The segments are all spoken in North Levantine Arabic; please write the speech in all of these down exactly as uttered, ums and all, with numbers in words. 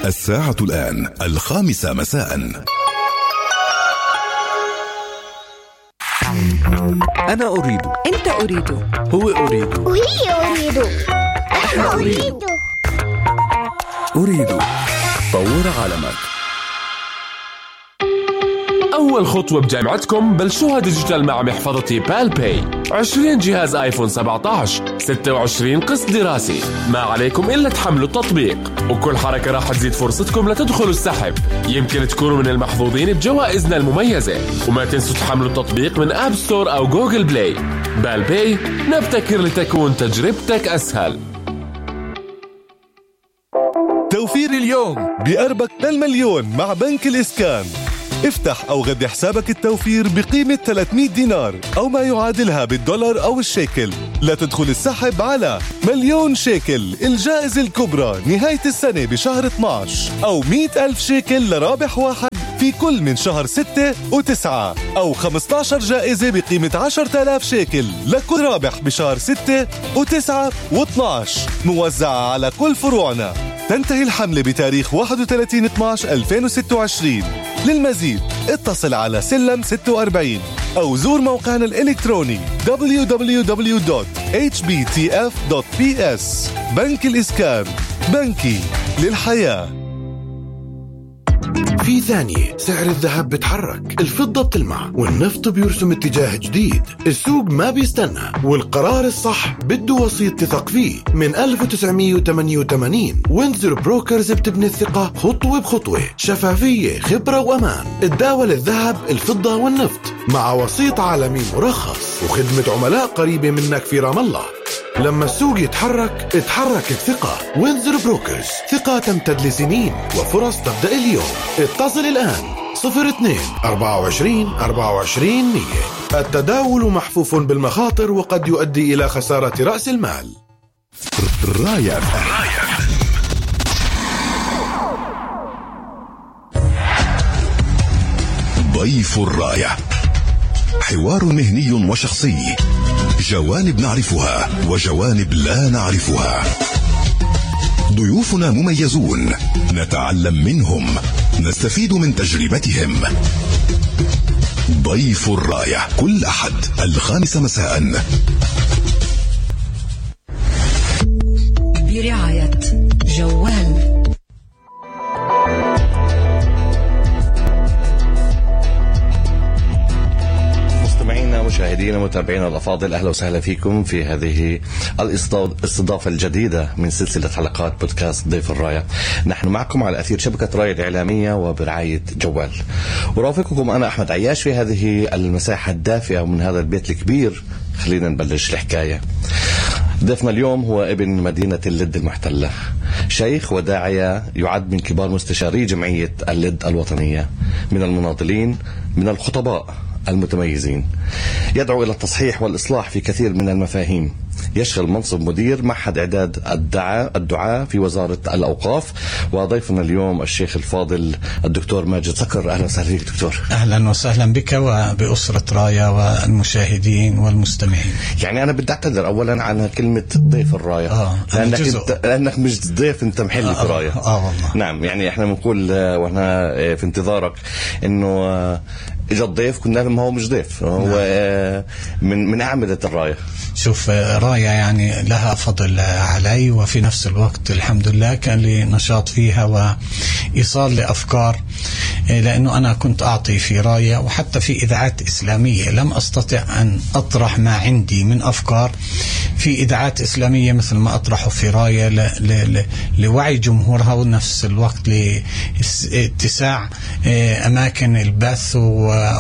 الساعة الآن الخامسة مساء. أنا أريد، أنت أريد، هو أريد، وهي أريد، أنا أريد. أريد. طور عالمك. أول خطوة بجامعتكم بلشوها ديجيتال مع محفظتي بالباي. عشرين جهاز آيفون سبعة عشر، ستة وعشرين قسط دراسي، ما عليكم إلا تحملوا التطبيق، وكل حركة راح تزيد فرصتكم لتدخلوا السحب. يمكن تكونوا من المحظوظين بجوائزنا المميزة. وما تنسوا تحملوا التطبيق من آب ستور أو جوجل بلاي. بالباي، نبتكر لتكون تجربتك أسهل. توفير اليوم بقربك للمليون مع بنك الإسكان. افتح أو غذي حسابك التوفير بقيمة ثلاثمية دينار أو ما يعادلها بالدولار أو الشيكل لتدخل السحب على مليون شيكل الجائزة الكبرى نهاية السنة بشهر اثناشر، أو مئة ألف شيكل لرابح واحد في كل من شهر ستة وتسعة، أو خمسة عشر جائزة بقيمة عشرة آلاف شيكل لكل رابح بشهر ستة وتسعة واثناشر، موزعة على كل فروعنا. تنتهي الحملة بتاريخ واحد وثلاثين اثناشر ألفين وستة وعشرين. للمزيد اتصل على سلم ستة وأربعين أو زور موقعنا الإلكتروني دبليو دبليو دبليو دوت إتش بي تي إف دوت بي إس. بنك الإسكان، بنكي للحياة. في ثانية سعر الذهب بتحرك، الفضة بتلمع، والنفط بيرسم اتجاه جديد. السوق ما بيستنى، والقرار الصح بده وسيط تثق فيه. من ألف وتسعمية وثمانية وثمانين وينزر بروكرز بتبني الثقة خطوة بخطوة، شفافية، خبرة وأمان. تداول الذهب، الفضة والنفط مع وسيط عالمي مرخص وخدمة عملاء قريبة منك في رام الله. لما السوق يتحرك اتحرك الثقة. وينزر بروكرز، ثقة تمتد لسنين وفرص تبدأ اليوم. اتصل الآن صفر اثنين أربعة وعشرين أربعة وعشرين مية. التداول محفوف بالمخاطر وقد يؤدي إلى خسارة رأس المال. راية ضيف الراية، حوار مهني وشخصي، جوانب نعرفها وجوانب لا نعرفها. ضيوفنا مميزون، نتعلم منهم، نستفيد من تجربتهم. ضيف الراية كل أحد الخامسة مساء برعاية جوال. مشاهدينا ومتابعينا الأفاضل، أهلا وسهلا فيكم في هذه الاستضافة الجديدة من سلسلة حلقات بودكاست ضيف الراية. نحن معكم على أثير شبكة راية الإعلامية وبرعاية جوال، ورافقكم أنا أحمد عياش في هذه المساحة الدافئة ومن هذا البيت الكبير. خلينا نبلش الحكاية. ضيفنا اليوم هو ابن مدينة اللد المحتلة، شيخ وداعية، يعد من كبار مستشاري جمعية اللد الوطنية، من المناضلين، من الخطباء المتميزين، يدعو إلى التصحيح والإصلاح في كثير من المفاهيم. يشغل منصب مدير معهد إعداد الدعاء الدعاء في وزارة الأوقاف. وضيفنا اليوم الشيخ الفاضل الدكتور ماجد صقر. أهلا وسهلا بك دكتور. أهلا وسهلا بك وبأسرة راية والمشاهدين والمستمعين. يعني أنا بدي أعتذر أولا على كلمة ضيف الراية، آه لأنك, انت لأنك مش ضيف، أنت محل في راية. آه, آه والله. نعم، يعني إحنا بنقول وإحنا في انتظارك إنه إجا الضيف، كنا ما هو مش ضيف، هو نعم. من من أعمدة الراية. شوف، راية يعني لها فضل علي، وفي نفس الوقت الحمد لله كان لي نشاط فيها وإيصال لأفكار، لأنه أنا كنت أعطي في راية وحتى في إذاعات إسلامية لم أستطع أن أطرح ما عندي من أفكار في إذاعات إسلامية مثل ما أطرحه في راية ل... ل... لوعي جمهورها، ونفس الوقت لاتساع أماكن البث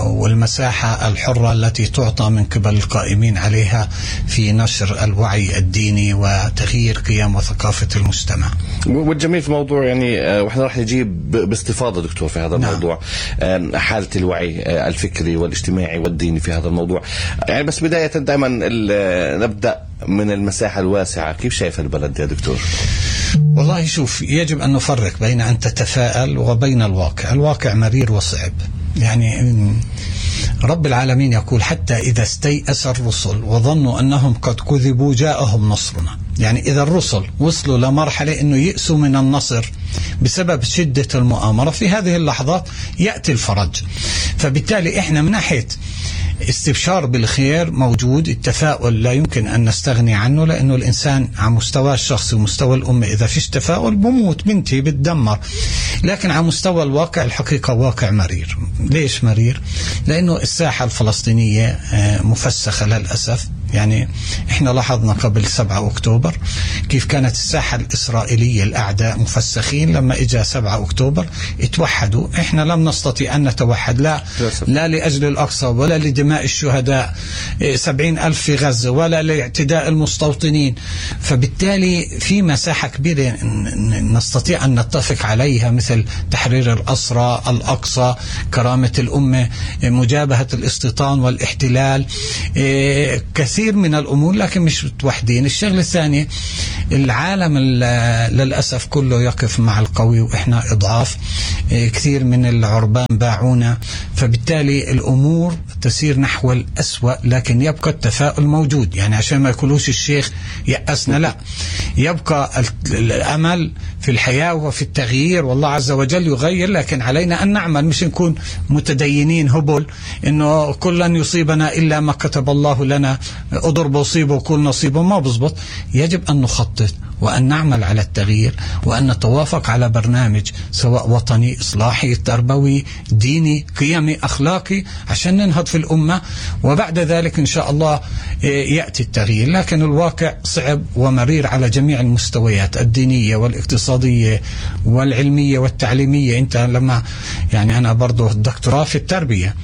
والمساحة الحرة التي تعطى من قبل القائمين عليها في نشر الوعي الديني وتغيير قيم وثقافة المجتمع. والجميل في الموضوع يعني واحنا راح نجيب باستفاضة دكتور في هذا نعم. الموضوع حالة الوعي الفكري والاجتماعي والديني في هذا الموضوع. يعني بس بداية دائما نبدأ من المساحة الواسعة. كيف شايف البلد يا دكتور؟ والله شوف، يجب أن نفرق بين أن تتفائل وبين الواقع. الواقع مرير وصعب. يعني رب العالمين يقول: حتى إذا استيأس الرسل وظنوا أنهم قد كذبوا جاءهم نصرنا. يعني إذا الرسل وصلوا لمرحلة أنه يأسوا من النصر بسبب شدة المؤامرة. في هذه اللحظات يأتي الفرج. فبالتالي إحنا من ناحية استبشار بالخير موجود، التفاؤل لا يمكن أن نستغني عنه، لأنه الإنسان على مستوى الشخصي ومستوى الأمة إذا فيش تفاؤل بموت، بنتي بتدمر. لكن على مستوى الواقع الحقيقة واقع مرير. ليش مرير؟ لأنه الساحة الفلسطينية مفسخة للأسف. يعني احنا لاحظنا قبل سبعة أكتوبر كيف كانت الساحة الإسرائيلية الأعداء مفسخين، لما إجا سبعة أكتوبر اتوحدوا. احنا لم نستطيع أن نتوحد، لا لا لأجل الأقصى ولا لدماء الشهداء سبعين ألف في غزة ولا لاعتداء المستوطنين. فبالتالي في مساحة كبيرة نستطيع أن نتفق عليها، مثل تحرير الأسرى، الأقصى، كرامة الأمة، مجابهة الاستيطان والاحتلال، كثير من الأمور، لكن مش متوحدين. الشغلة الثانية، العالم للأسف كله يقف مع القوي وإحنا إضعاف. كثير من العربان باعونا، فبالتالي الأمور تسير نحو الأسوأ، لكن يبقى التفاؤل موجود. يعني عشان ما يقولوش الشيخ يأسنا، لا، يبقى الأمل في الحياة وفي التغيير، والله عز وجل يغير، لكن علينا أن نعمل، مش نكون متدينين هبل إنه كل لن يصيبنا إلا ما كتب الله لنا، أضرب أصيبه وكل نصيبه. ما بزبط. يجب أن نخطط وأن نعمل على التغيير وأن نتوافق على برنامج سواء وطني، إصلاحي، تربوي، ديني، قيمي، أخلاقي، عشان ننهض في الأمة. وبعد ذلك إن شاء الله يأتي التغيير. لكن الواقع صعب ومرير على جميع المستويات، الدينية والاقتصادية والعلمية والتعليمية. أنت لما يعني أنا برضو دكتوراه في التربية،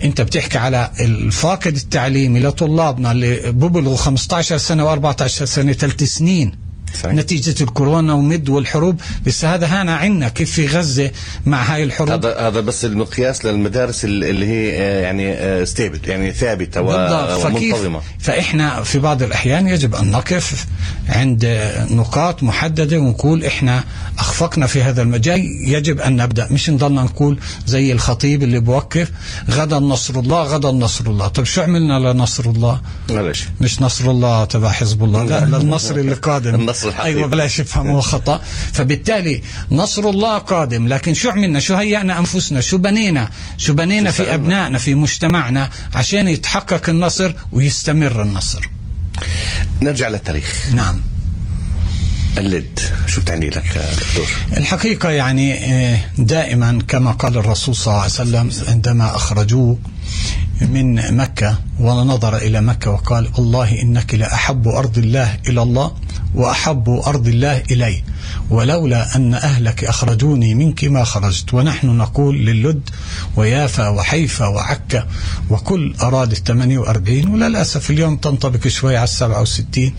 أنت بتحكي على الفاقد التعليمي لطلابنا اللي ببلغوا خمسة عشر سنة وأربعة عشر سنة، ثلاث سنين صحيح. نتيجة الكورونا ومد والحروب. بس هذا هنا عنا كيف في غزة مع هاي الحروب. هذا هذا بس المقياس للمدارس اللي هي يعني ستيبل، يعني ثابتة ومنتظمة. فإحنا في بعض الأحيان يجب أن نقف عند نقاط محددة ونقول إحنا أخفقنا في هذا المجال، يجب أن نبدأ، مش نضلنا نقول زي الخطيب اللي بوقف غدا نصر الله غدا نصر الله. طب شو عملنا لنصر الله؟ معلش مش نصر الله تبع حزب الله، لا، للنصر اللي قادم. أيوة، بلاش يفهموا خطأ. فبالتالي نصر الله قادم، لكن شو عملنا؟ شو هيأنا أنفسنا؟ شو بنينا؟ شو بنينا في أبنائنا، في مجتمعنا، عشان يتحقق النصر ويستمر النصر. نرجع للتاريخ. نعم. اللد شو بتعني لك دكتور؟ الحقيقة يعني دائما كما قال الرسول صلى الله عليه وسلم عندما أخرجوه من مكة ونظر إلى مكة وقال: الله إنك لأحب أرض الله إلى الله وأحب أرض الله إلي، ولولا أن أهلك أخرجوني منك ما خرجت. ونحن نقول للد ويافا وحيفا وعكا وكل أراد الثمانية وأربعين، وللأسف اليوم تنطبق شوي على السبعة وستين.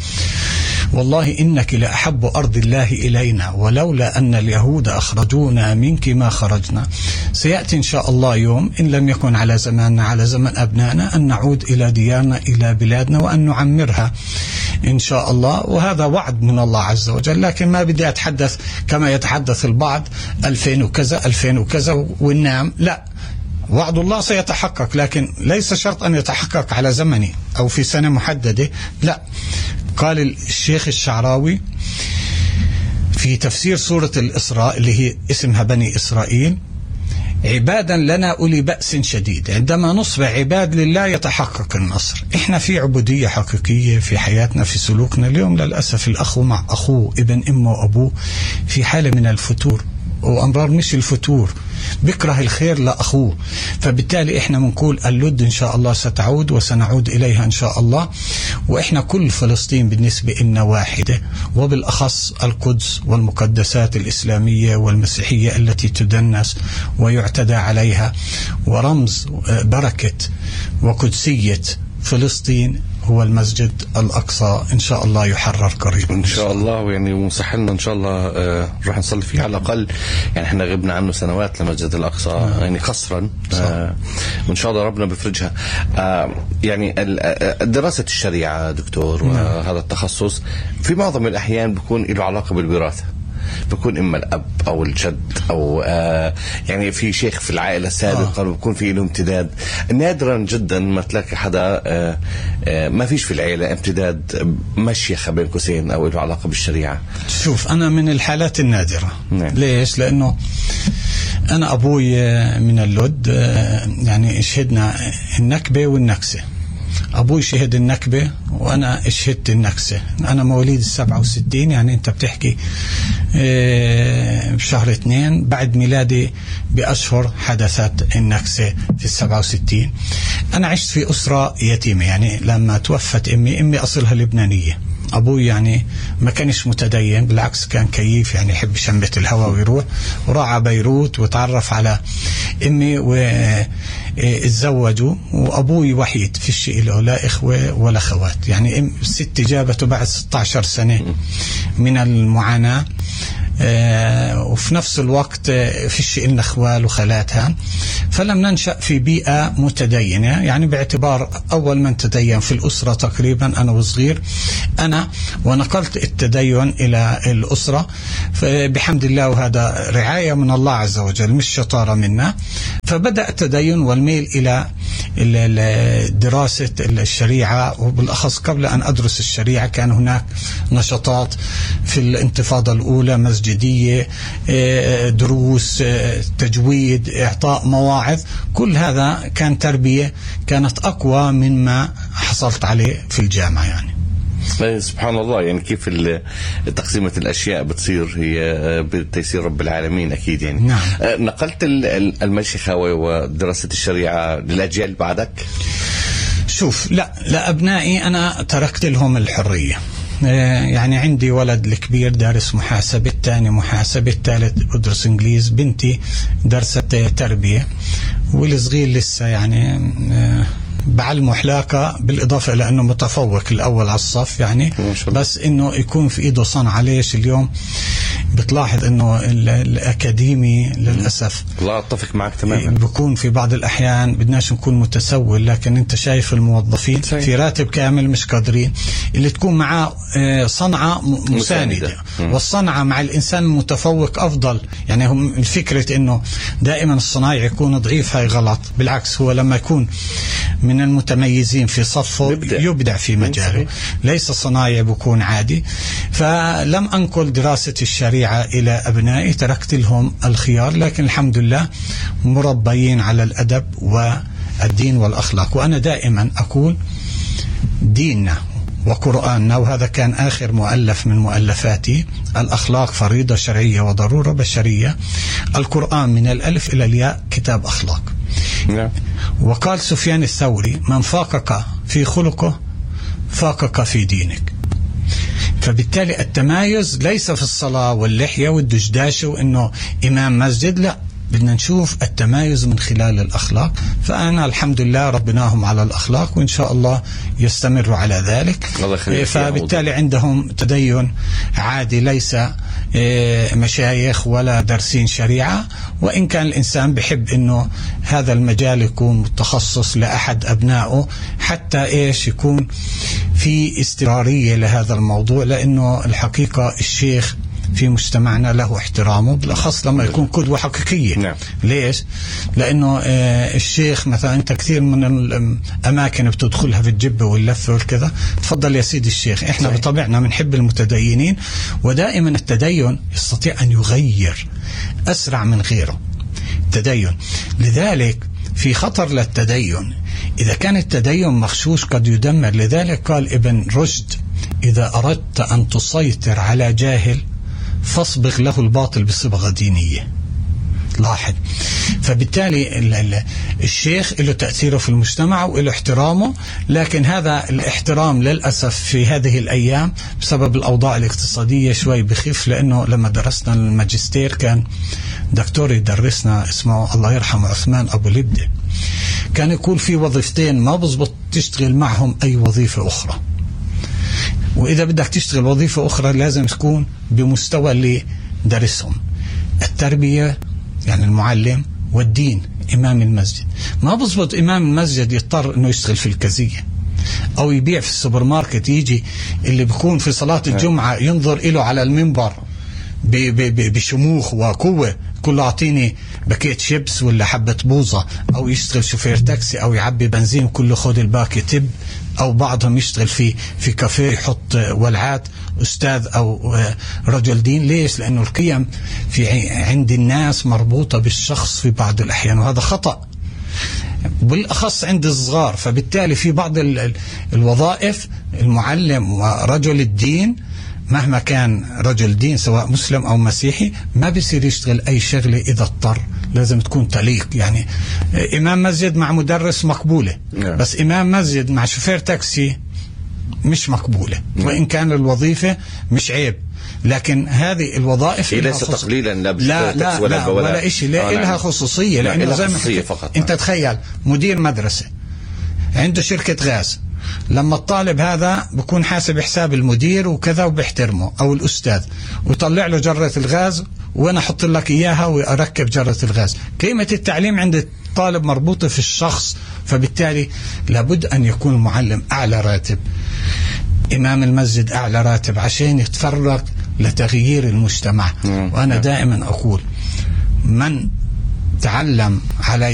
والله إنك لأحب أرض الله إلينا ولولا أن اليهود أخرجونا منك ما خرجنا. سيأتي إن شاء الله يوم إن لم يكن على زماننا على زمن أبنائنا أن نعود إلى ديارنا إلى بلادنا وأن نعمرها إن شاء الله، وهذا وعد من الله عز وجل. لكن ما بدي أتحدث كما يتحدث البعض ألفين وكذا ألفين وكذا وننام، لا، وعد الله سيتحقق، لكن ليس شرط أن يتحقق على زمني أو في سنة محددة، لا. قال الشيخ الشعراوي في تفسير سورة الإسراء اللي هي اسمها بني إسرائيل: عبادا لنا أولي بأس شديد. عندما نصبح عباد لله يتحقق النصر. إحنا في عبودية حقيقية في حياتنا، في سلوكنا. اليوم للأسف الأخ مع أخوه، ابن أمه وأبوه في حالة من الفتور، وأمرار مش الفتور، بكره الخير لأخوه. فبالتالي إحنا بنقول اللد إن شاء الله ستعود وسنعود إليها إن شاء الله. وإحنا كل فلسطين بالنسبة لنا واحدة، وبالأخص القدس والمقدسات الإسلامية والمسيحية التي تدنس ويعتدى عليها، ورمز بركة وقدسية فلسطين هو المسجد الأقصى. إن شاء الله يحرر قريبا إن شاء الله. يعني ومسح لنا إن شاء الله آه راح نصلي فيه على الأقل. يعني إحنا غبنا عنه سنوات لمسجد الأقصى آه. يعني قصرا آه وإن شاء الله ربنا بفرجها. آه يعني دراسة الشريعة دكتور وهذا التخصص في معظم الأحيان بيكون له علاقة بالوراثة. بكون إما الأب أو الجد أو آه يعني في شيخ في العائلة سابقا آه. بكون في له امتداد. نادرا جدا ما تلاقي حدا آه آه ما فيش في العائلة امتداد مشيخة بين قوسين أو له علاقة بالشريعة. شوف أنا من الحالات النادرة. نعم. ليش؟ لأنه أنا أبوي من اللد يعني شهدنا النكبة والنكسة. أبوي شهد النكبة وأنا شهدت النكسة. أنا مواليد السبعة وستين، يعني أنت بتحكي بشهر اثنين بعد ميلادي بأشهر حدثت النكسة في السبعة وستين. أنا عشت في أسرة يتيمة، يعني لما توفت أمي أمي أصلها لبنانية. أبوي يعني ما كانش متدين، بالعكس كان كيف، يعني يحب شمة الهواء ويروح، وراح بيروت وتعرف على أمي واتزوجوا. وأبوي وحيد في الشيء له لا إخوة ولا خوات، يعني الست جابته بعد ستة عشر سنة من المعاناة. آه وفي نفس الوقت آه فيش إلنا أخوال وخالاتها، فلم ننشأ في بيئة متدينة، يعني باعتبار أول من تدين في الأسرة تقريبا أنا وصغير أنا، ونقلت التدين إلى الأسرة بحمد الله، وهذا رعاية من الله عز وجل مش شطارة منا. فبدأ التدين والميل إلى دراسة الشريعة، وبالأخص قبل أن أدرس الشريعة كان هناك نشاطات في الانتفاضة الأولى، مسجدية، دروس، تجويد، إعطاء مواعظ، كل هذا كان تربية كانت أقوى مما حصلت عليه في الجامعة. يعني سبحان الله، يعني كيف تقسيمة الأشياء بتصير هي بتيسير رب العالمين أكيد. يعني نعم. نقلت المشيخة ودراسة الشريعة للأجيال بعدك؟ شوف، لا لأبنائي أنا تركت لهم الحرية. يعني عندي ولد الكبير دارس محاسبة، الثاني محاسبة، الثالث بدرس إنجليز، بنتي درست تربية، والصغير لسه يعني بعلمه حلاقة، بالإضافة إلى أنه متفوق الأول على الصف يعني، بس إنه يكون في إيده صنعة. ليش اليوم بتلاحظ إنه الأكاديمي للأسف لا أتفق معك تماما، بيكون في بعض الأحيان بدناش نكون متسول، لكن أنت شايف الموظفين في راتب كامل مش قادرين، اللي تكون معاه صنعة مساندة، والصنعة مع الإنسان المتفوق أفضل. يعني هم الفكرة إنه دائما الصنايعي يكون ضعيف، هاي غلط. بالعكس، هو لما يكون من المتميزين في صفه يبدع, يبدع في مجاله، ليس صنايعي بكون عادي. فلم أنقل دراسة الشريعة إلى أبنائي، تركت لهم الخيار، لكن الحمد لله مربيين على الأدب والدين والأخلاق. وأنا دائما أقول ديننا وقرآننا، وهذا كان آخر مؤلف من مؤلفاتي، الأخلاق فريضة شرعية وضرورة بشرية. القرآن من الألف إلى الياء كتاب أخلاق. وقال سفيان الثوري: من فاقك في خلقه فاقك في دينك. فبالتالي التمايز ليس في الصلاة واللحية والدشداش وإنه إمام مسجد، لا، بدنا نشوف التمايز من خلال الأخلاق. فأنا الحمد لله ربناهم على الأخلاق، وإن شاء الله يستمروا على ذلك. فبالتالي عندهم تدين عادي، ليس مشايخ ولا درسين شريعة، وإن كان الإنسان بحب إنه هذا المجال يكون متخصص لأحد أبنائه، حتى إيش يكون في استمرارية لهذا الموضوع، لأنه الحقيقة الشيخ في مجتمعنا له احترامه، بالأخص لما يكون قدوة حقيقية. نعم. ليش؟ لأنه آه الشيخ مثلا أنت كثير من الأماكن بتدخلها في الجبة واللفة والكذا، تفضل يا سيدي الشيخ. إحنا صحيح. بطبيعنا بنحب المتدينين، ودائما التدين يستطيع أن يغير أسرع من غيره التدين. لذلك في خطر للتدين، إذا كان التدين مغشوش قد يدمر. لذلك قال ابن رشد: إذا أردت أن تسيطر على جاهل فاصبغ له الباطل بصبغة دينية. لاحظ. فبالتالي الشيخ له تأثيره في المجتمع وله احترامه، لكن هذا الاحترام للأسف في هذه الأيام بسبب الأوضاع الاقتصادية شوي بخف. لأنه لما درسنا الماجستير كان دكتور يدرسنا اسمه الله يرحمه عثمان أبو لبدة، كان يقول في وظيفتين ما بزبط تشتغل معهم أي وظيفة أخرى، وإذا بدك تشتغل وظيفة أخرى لازم تكون بمستوى اللي درسهم، التربية يعني المعلم، والدين إمام المسجد. ما بزبط إمام المسجد يضطر أنه يشتغل في الكزية أو يبيع في السوبر ماركت، يجي اللي بيكون في صلاة الجمعة ينظر إله على المنبر بشموخ وقوة، كله أعطيني باكيت شيبس ولا حبة بوظة، أو يشتغل شوفير تاكسي أو يعبي بنزين كله خد الباكي تب، أو بعضهم يشتغل في في كافيه يحط ولعات، أستاذ أو رجل دين. ليش؟ لأنه القيم في عند الناس مربوطة بالشخص في بعض الأحيان، وهذا خطأ بالأخص عند الصغار. فبالتالي في بعض الوظائف المعلم ورجل الدين مهما كان رجل دين سواء مسلم أو مسيحي ما بيصير يشتغل أي شغلة إذا اضطر، لازم تكون تليق. يعني إمام مسجد مع مدرس مقبولة، بس إمام مسجد مع شوفير تاكسي مش مقبولة، وإن كان الوظيفة مش عيب، لكن هذه الوظائف ليس تقليلا لا لا لا ولا, لا ولا, ولا إشي، لا إلها خصوصية. لأنه زي ما فقط. أنت تخيل مدير مدرسة عنده شركة غاز، لما الطالب هذا بكون حاسب حساب المدير وكذا وبيحترمه أو الأستاذ، ويطلع له جرة الغاز وأنا أحط لك إياها وأركب جرة الغاز. قيمة التعليم عند الطالب مربوطة في الشخص، فبالتالي لابد أن يكون المعلم أعلى راتب، إمام المسجد أعلى راتب، عشان يتفرغ لتغيير المجتمع. وأنا دائما أقول من تعلم على